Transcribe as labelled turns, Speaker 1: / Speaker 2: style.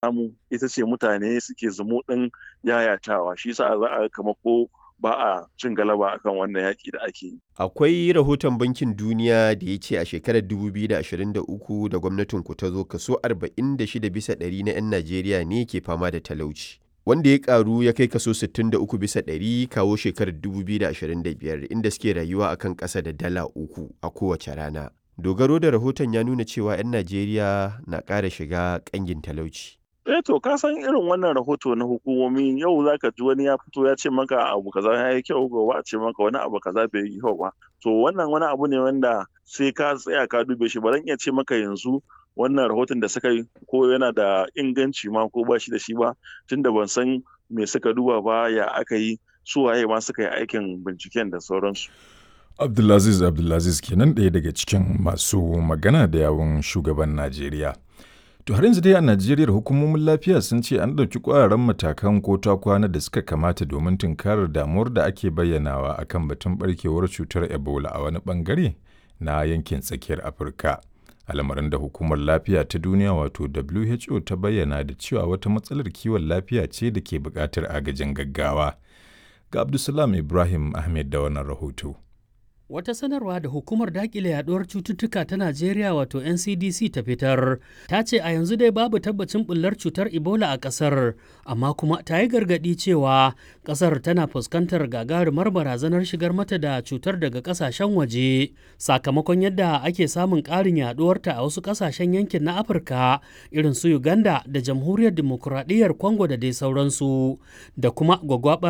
Speaker 1: Samu ita ce mutane suke zumuɗin yayatawa, shi sa za a kama ko ba a cin galaba akan wannan yaƙi da ake yi.
Speaker 2: Akwai rahoton Bankin Duniya da ya ce a shekarar 2023 da gwamnatinku ta zo kaso 46 bisa ɗari na 'yan Najeriya ne ke fama da talauci. Wanda ya karu ya kai kaso 63 bisa ɗari kawo shekarar 2025 inda suke rayuwa akan ƙasa da dala 3 a kowace rana. Dogaro da rahoton ya nuna cewa 'yan Najeriya na ƙara shiga ƙangin talauci.
Speaker 1: Eh, to ka san irin wannan rahoto na hukumomi, yau zaka ji wani ya fito ya ce maka abu kaza ya yi kyau, gobe a ce maka wani abu kaza bai yi kyau ba. To wannan wani abu ne wanda sai ka tsaya ka dube shi. Ba zan iya ce maka yanzu wannan rahoton da suka yi ko yana da inganci ma ko ba shi da shi ba, tunda ban san me suka duba ba, ya aka yi, su waye ma suka yi aikin binciken da sauransu.
Speaker 3: Abdulaziz Abdulaziz kenan, ɗaya daga cikin masu magana da yawun shugaban Najeriya. To har yanzu dai a Najeriya, hukumomin lafiya sun ce an ɗauki ƙwararren matakan ko ta kwana da suka kamata domin tunkarar damuwar da ake bayyanawa akan batun barkewar cutar Ebola a wani bangare na yankin tsakiyar Afirka. Al'amarin da hukumar lafiya ta duniya wato WHO ta bayyana da cewa wata matsalar kiwon lafiya ce da ke buƙatar agajin gaggawa. Ga Abdulsalam Ibrahim Ahmed da wannan rahoto.
Speaker 4: Wata sanarwa da hukumar dakile yaduwar cututtuka ta Najeriya wato NCDC ta fitar, ta ce a yanzu dai babu tabbacin bullar cutar Ebola a kasar, amma kuma ta yi gargadi cewa kasar tana fuskantar gagarumar barazanar shigar mata da cutar daga kasashen waje, sakamakon yadda ake samun ƙarin yaduwarta a wasu kasashen yankin na Afirka irin su Uganda da Jamhuriyar Dimokuraɗiyyar Congo da dai sauransu, da kuma gwagwabar